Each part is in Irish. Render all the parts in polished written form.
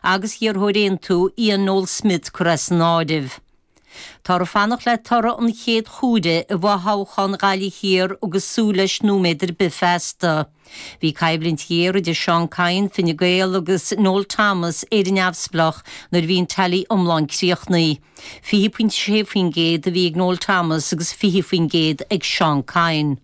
agus iarrthóir Aontú Ian Noel Smith curtha as an áireamh. Táthar ag fanacht le toradh an chéad chuaire i bhfothoghchán Ghaillimh Thiar agus súil leis nóiméad ar bith feasta. Bhí coimhlint ghéar idir Seán Kyne, Fine Gael, agus Noel Thomas, Éire Neamhspleách, nuair a bhí an tally iomlán críochnaithe. 20.6% a bhí ag Noel Thomas agus 20% ag Seán Kyne.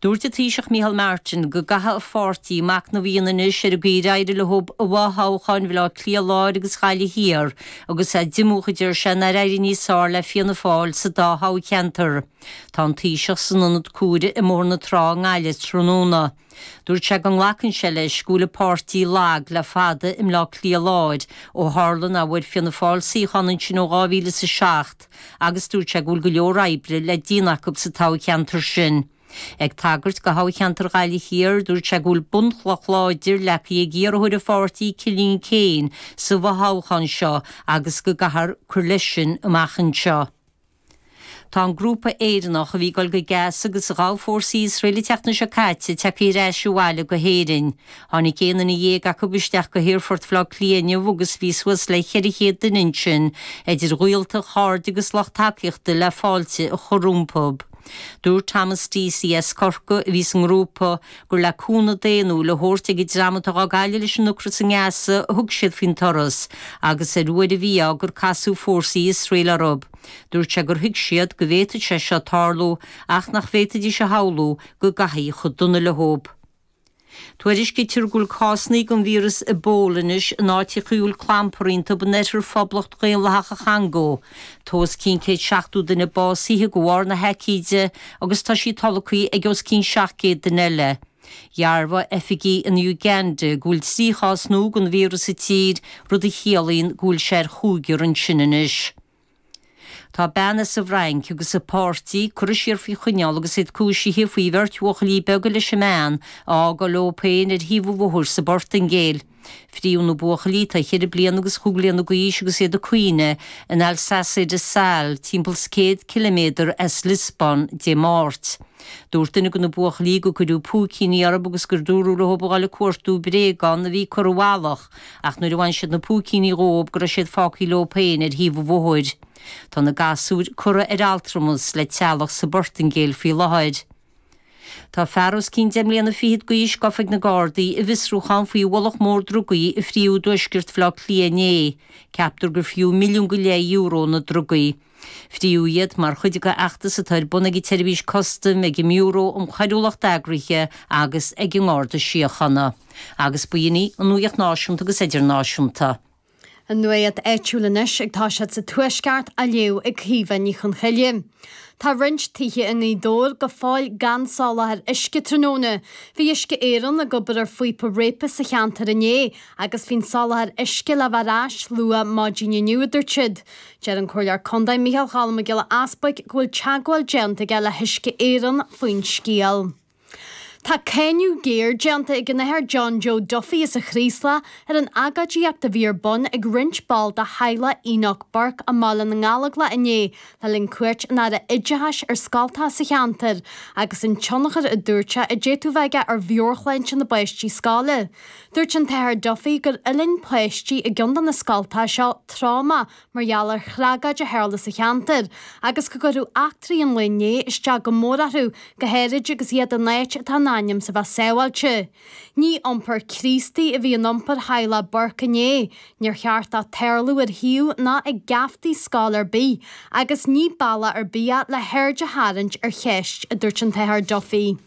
Dúirt an Taoiseach Micheál Martin go gcaithfidh a pháirtí machnamh a dhéanamh anois ar an gcaoi ar éirigh leo i bhfothoghcháin Bhaile Átha Cliath Láir agus Ghaillimh Thiar agus é diomúch, a deir sé, nár éirigh níos fearr le Fianna Fáil sa dá thoghcheantar. Tá an Taoiseach san ionad cuaire i mBóthar na Trá i nGaillimh tráthnóna. Dúirt sé go nglacann sé leis go bhfuil a pháirtí lag le fada i mBleá Cliath Láir ó tharla nach bhfuair Fianna Fáil suíochán ansin ó 2007 agus dúirt sé go bhfuil go leor oibre le déanamh acu sa toghcheantar sin. Ag tagairt do thoghcheantar Ghaillimh Thiar, dúirt sé go bhfuil bunchloch láidir leagtha ag iarrthóir a pháirtí Cillian Keane sa bhfothoghchán seo agus go gcaithfear cur leis sin amach anseo. Tá an grúpa Éireannach a bhí ag dul go Gaza agus a ghabh fórsaí Iosrael an tseachtain seo caite tagtha ar ais abhaile go hÉirinn. Tháinig 11 duine acu isteach go hAerfort Bhaile Átha Cliath inniu agus bhí suas le 400 duine ansin, idir ghaolta, chairde agus lucht tacaíochta le fáilte a chur rompu. Dúirt Thomas Deasy as Corcaigh, a bhí sa ngrúpa, gur le cúnamh daonnúil a thabhairt ag an dream atá dhá gcailleadh leis an ocras i nGaza a thug siad faoin turas agus ar uair an mhí-ádh gur casadh fórsaí Iosrael orthu. Dúirt sé gur thuig siad go bhféadfadh sé seo tarlú ach nach bhféadfaidís a shamhlú go gcaithfí chomh dona leo. Tuairiscítear go bhfuil cásanna den víreas Ebola anois in áiteacha a bhfuil clampar iontu in oirthear Phoblacht Dhaonlathach an Chongó. Tá os cionn 170 duine básaithe de bharr na haicíde agus tá sí tolgtha ag os cionn 700 duine eile. Dhearbhaigh oifigigh in Uganda go bhfuil 3 chás nua den víreas sa tír, rud a chiallaíonn go bhfuil sé ar chúigear ansin anois. Tá bean as an bhFrainc agus a páirtí curtha siar faoi choinneáil agus iad cúisithe faoi bheirt bhuachaillí beaga leis an mbean a fhágáil leo féin ar thaobh an bhóthair sa bPortaingéil. Fríodh na buachaillí, atá cheithre bliana agus chúig bliana d'aois agus iad ag caoineadh in Alcácer do Sal, timpeall 's 100 ciliméadar as Liospóin, Dé Máirt. Dúirt duine de na buachaillí gur cuireadh púicíní orthu agus gur dúradh leo a dhul ag cuartú bréagán a bhí curtha i bhfalach Ach nuair a bhain siad na púicíní dhóib go raibh siad fágthaí leo féin ar thaobh an bhóthair. Tá na gasúir curtha ar altramas le teaghlach sa bPortaingéil faoi láthair. Tá fear os cionn deich mbliana fichead d'aois gafa ag na Gardaí i bhfiosrúchán faoi bhunachar mór drugaí a fríodh i dtuaisceart Bhaile Átha Cliath inné. Ceaptar gur fiú milliún go leith euro na drugaí. Fríodh iad mar chuid de fheachtas atá ar bun ag an tSeirbhís Custaim, ag an mBiúró um Choiriúlacht Eagraithe agus ag an nGarda Síochána. Agus b'in í an nuacht náisiúnta agus idirnáisiúnta. An nuacht áitiúil anois ag toiseacht sa Tuaisceart á léamh ag Caoimhe Ní Chonchoille. Tá roinnt tithe i nGaoth Dobhair go fóill gan soláthar uisce tráthnóna. Bhí Uisce Éireann ag obair ar phíopa réabtha sa cheantar inné agus bhí an soláthar uisce le bheith ar ais luath maidin inniu, a dúirt siad. Deir an Comhairleoir Contae Micheál Cholm Mac Giolla Easbuig go bhfuil teagmháil déanta aige le hUisce Éireann faoin scéal. Tá cáineadh géar déanta ag an Athair John Joe Duffy as an Chraoslach ar an agóidíocht a bhí ar bun ag roinnt ball de theaghlach Enoch Burke i mBaile na nGallóglach inné le linn cuairt an Aire Oideachais ar scoltacha sa cheantar agus an tionchar a dúirt sé a d'fhéadfadh bheith aige ar mheabhairshláinte na bpáistí scoile. Dúirt an tAthair Duffy gur fhulaing páistí i gceann de na scoltacha seo tráma mar gheall ar thragóid a tharla sa cheantar agus go gcuirfeadh eachtraí an lae inné isteach go mór orthu, go háirid agus iad in áit atá in ainm is a bheith sábháilte. Ní iompar Críostaí a bhí in iompar theaghlach Burke inné. Níor cheart dó tarlú ar shuíomh ná ag geaftaí scoil ar bith agus ní bealach ar bith é le haird a tharraingt ar cheist, a dúirt an tAthair Duffy.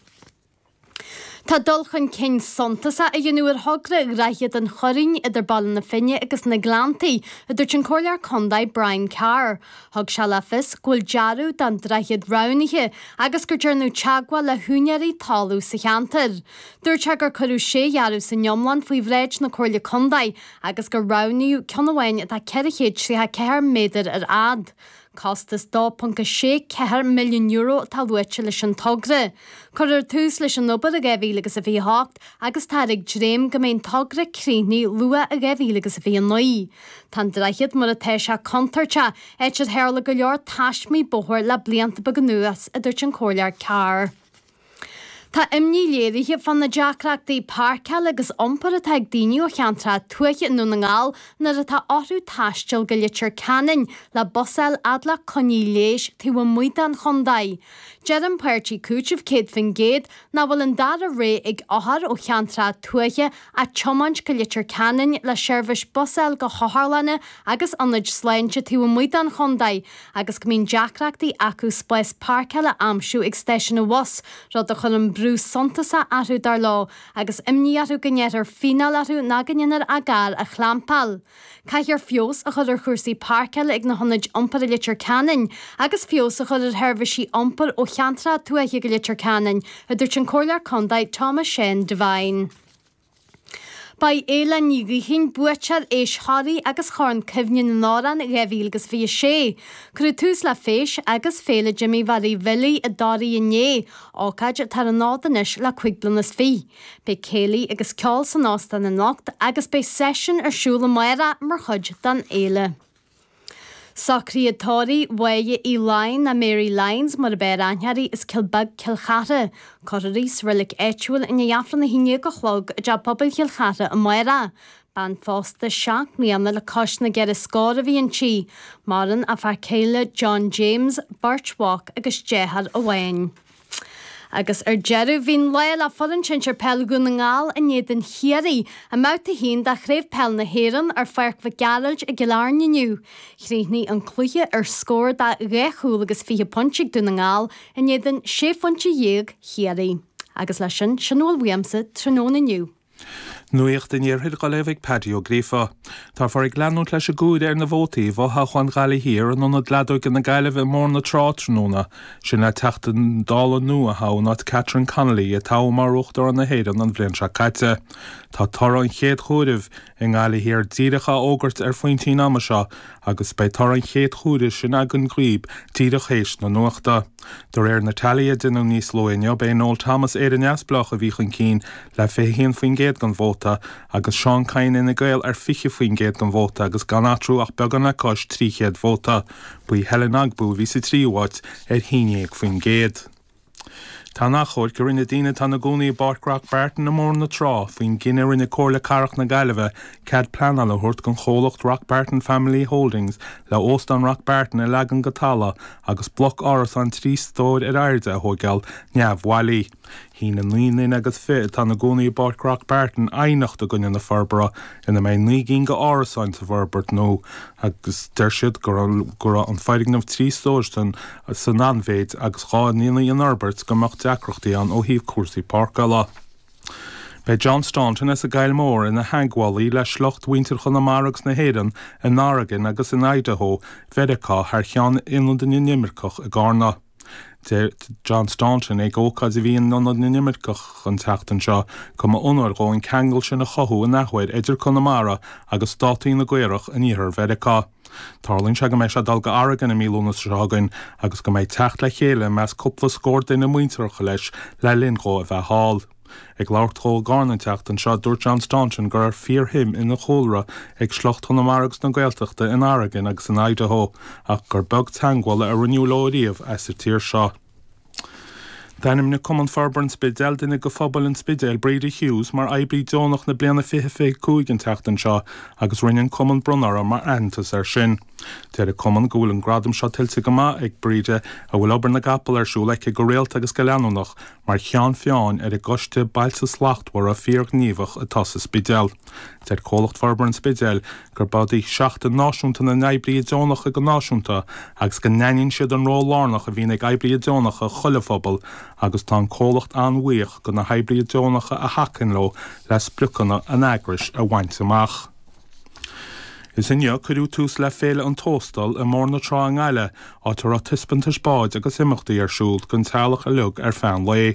Tá dul chun cinn suntasach á dhéanamh ar thogra Dhroichead an Churraoin idir Baile na Finne agus na Gleanntaí, a dúirt an Comhairleoir Contae Brian Carr. Thug sé le fios go bhfuil dearadh don droichead roghnaithe agus gur déanadh teagmháil le húinéirí talún sa cheantar. Dúirt sé gur cuireadh sé dhearadh san iomlán faoi bhráid na Comhairle Contae agus gur roghnaíodh ceann amháin atá 434 méadar ar fhad. Costas €2.64 milliún atá luaite leis an togra. Cuirfear tús leis an obair i 2028 agus táthar ag dréim go mbeidh an togra críochnaithe luath i 2029. Tá an droichead mar atá sé contúirteach, áit ar tharla go leor taismí bóthair le blianta beaga anuas, a dúirt an Comhairleoir Carr. Tá imní léirithe fá na deacrachtaí páirceála agus iompair atá ag daoine ó cheantracha tuaithe i nDún na nGall nuair atá orthu taisteal go Leitir Ceanainn le bus a fháil fhad le coinní leighis taobh amuigh den chontae. Deir an páirtí Cúiteamh 100% nach bhfuil an dara rogha ag othair ó cheantracha tuaithe ach tiomáint go Leitir Ceanainn le seirbhís bus a fháil go hotharlanna agus ionaid sláinte taobh amuigh den chontae agus go mbíonn deacrachtaí acu spás páirceála a aimsiú ag stáisiún an bhus, rud a chuireann brú suntasach orthu, dar leo, agus imní orthu go ngearrfar fíneáil orthu nó go ndéanfar a gcarr a chlampáil. Caithfear feabhas a chur ar chúrsaí páirceála ag na hionaid iompair i Leitir Ceanainn agus feabhas a chur ar sheirbhísí iompair ó cheantracha tuaithe go Leitir Ceanainn, a dúirt an Comhairleoir Contae Thomas Seán Devine. Ba í Aoileann Ní Ghaoithín buaiteoir Fheis Thoraí agus Chorn Cuimhne na nAmhrán 2026. Cuireadh tús le Feis agus Féile Jimí Mhary Bhilí i dToraigh inné, ócáid atá ar an fhód anois le cuig bliana is fiche. Beidh céilí agus ceol san óstán anocht agus beidh seisiún ar siúl amárach mar chuid den fhéile. Socruithe tórraimh Mháire Uí Laighin nó Mary Lyons mar ab fhearr aithne uirthi as Cill Beag, Cill Chartha. Cuirfear í sa reilig áitiúil i ndiaidh Aifreann 11 a chlog i dTeach Pobail Chill Chartha amárach. Bean phósta 7 mbliana le cois na gceithre scór a bhí inti. Maireann a fear céile John James, beirt mhac agus deartháir amháin. Agus ar deireadh, bhí an lá le foireann sinsir peil Dhún na nGall in éadan Chiarraí i mbabhta 1 de Chraobh Peil na hÉireann ar Pháirc Mhic Gearailt i gCill Airne inniu. Chríochnaigh an cluiche ar scór de dhá chúl agus 20 pointe ag Dún na nGall in éadan sé phointe dhéag Chiarraí. Agus leis sin, sin a bhfuil uaimse tráthnóna inniu. Nuacht an Iarthair á léamh ag Paddy Ó Gríofa. Táthar ag leanúint leis an gcomhaireamh ar na vótaí i bhfothoghchán Ghaillimh Thiar in Ionad Leadóige na Gaillimhe i mBóthar na Trá tráthnóna, sin le Teachta Dála nua a thoghadh in áit Catherine Connolly a toghadh mar Uachtarán na hÉireann an bhliain seo caite. Tá toradh an chéad chomhairimh i nGaillimh Thiar díreach á fhógairt ar phointí an ama seo agus beidh toradh an chéad chomhairimh sin againn dhaoib díreach théis na nuachta. De réir na teailí a deineadh níos luaithe inniu, b'é Noel Thomas, Éire Neamhspleách, a bhí chun cinn le 21% den vóta agus Seán Kyne, Fhine Gael, ar 20% den vóta agus gan eatarthu ach beagán le cois 300 vóta. Ba í Helen Ogbu a bhí sa tríú háit ar 11%. Tá an achomhairc a rinne daoine atá ina gcónaí i bPáirc Rock Barton i mBóthar na Trá faoin gcinneadh a rinne Comhairle Cathrach na Gaillimhe cead pleanála a thabhairt don chomhlacht Rock Barton Family Holdings le Óstán Rock Barton a leagan go talamh agus bloc árasán 3 stóir ar airde a thóigeáil neamhbhailí. Shín an naoi nduine agus fi atá ina gcónaí i bPáirc Rock Barton aighneacht i gcoinne na forbartha ina mbeidh 9 gcinn d'árasáin sa bhforbairt nua agus deir siad go raibh an foirgneamh 3 stóir san san an-mhéid agus dhá ndéanfaí an fhorbairt go mbeadh deacrachtaí ann ó thaobh cúrsaí páirceála. Beidh John Staunton as an gCoill Mhór ina theagmhálaí le sliocht mhuintir Chonamara agus na hÉireann in Oregon agus in Idaho Mheiriceá thar cheann Ionad na nImirceach i gCarna. Deir John Staunton ag ócáid a bhí in Ionad na nImirceach an tseachtain seo go mba onóir dhó an ceangal sin a chothú in athuair idir Conamara agus státaí na gCaorach in iarthar Mheiriceá. Tarlaíonn sé go mbeidh sé ag dul go Oregon i mí Lúnasa seo chugainn agus go mbeidh teacht le chéile i measc cúpla scór duine muinteartha leis le linn dhó a bheith thall. Ag labhairt dhó i gCarna an tseachtain seo, dúirt John Staunton go raibh fíorshuim ina chúlra ag sliocht Chonamara agus na Gaeltachta in Oregon agus in Idaho ach gur beag teagmháil a rinneadh leo riamh as an tír seo. D'ainmnigh Cumann Forbartha an Spidéil duine de phobal an Spidéil, Breda Hughes, mar Oibrí Deonach na Bliana 2025 an tseachtain seo agus rinne an Cumann bronnadh uirthi mar aitheantas air sin. Deir an Cumann go bhfuil an gradam seo tuillte go maith ag Breda a bhfuil obair na gcapall ar siúl aici go rialta agus go leanúnach mar cheann feadhain ar an gCoiste Bailte Slachtmhara fíorghníomhach atá sa Spidéal. Deir Comhlacht Forbartha an Spidéil gurb í Seachtain Náisiúnta na nOibrithe Deonacha go náisiúnta agus go n-aithníonn siad an ról lárnach a bhíonn ag oibrithe deonacha i chuile phobal agus tá an comhlacht an-bhuíoch de na hoibrithe deonacha a thacaíonn leo le spriocanna an eagrais a bhaint amach. Is inniu a cuireadh tús le Féile an Tóstail i mBóthar na Trá i nGaillimh, áit a raibh taispeantais báid agus imeachtaí ar siúl don teaghlach uilig ar feadh an lae.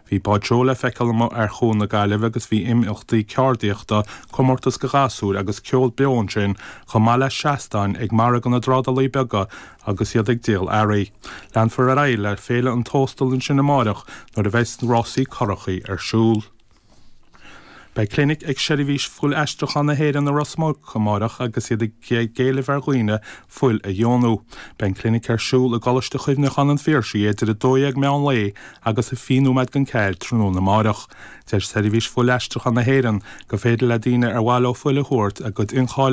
Bhí báid seoil le feiceáil amuigh ar Chuan na Gaillimhe agus bhí imeachtaí ceardaíochta, comórtas do ghasúir agus ceol beo ansin chomh maith le seastáin ag margadh na dtrádálaí beaga agus iad ag díol earraí. Leanfar ar aghaidh le Féile an Tóstail ansin amáireach nuair a bheidh rásaí curachaí ar siúl. Beidh clinic ag Seirbhís Fuil-Aistriúcháin na hÉireann i Ros Muc amáireach agus iad ag éileamh ar dhaoine fuil a dheonú. Beidh an clinic ar siúl i gColáiste Chuimhneacháin an Phiarsaigh idir 12 meán lae agus 20 nóiméad don 4 tráthnóna amáireach. Deir Seirbhís Fuil-Aistriúcháin na hÉireann gur féidir le daoine ar mhaith leo fuil a thabhairt a gcuid incháilitheachtaí.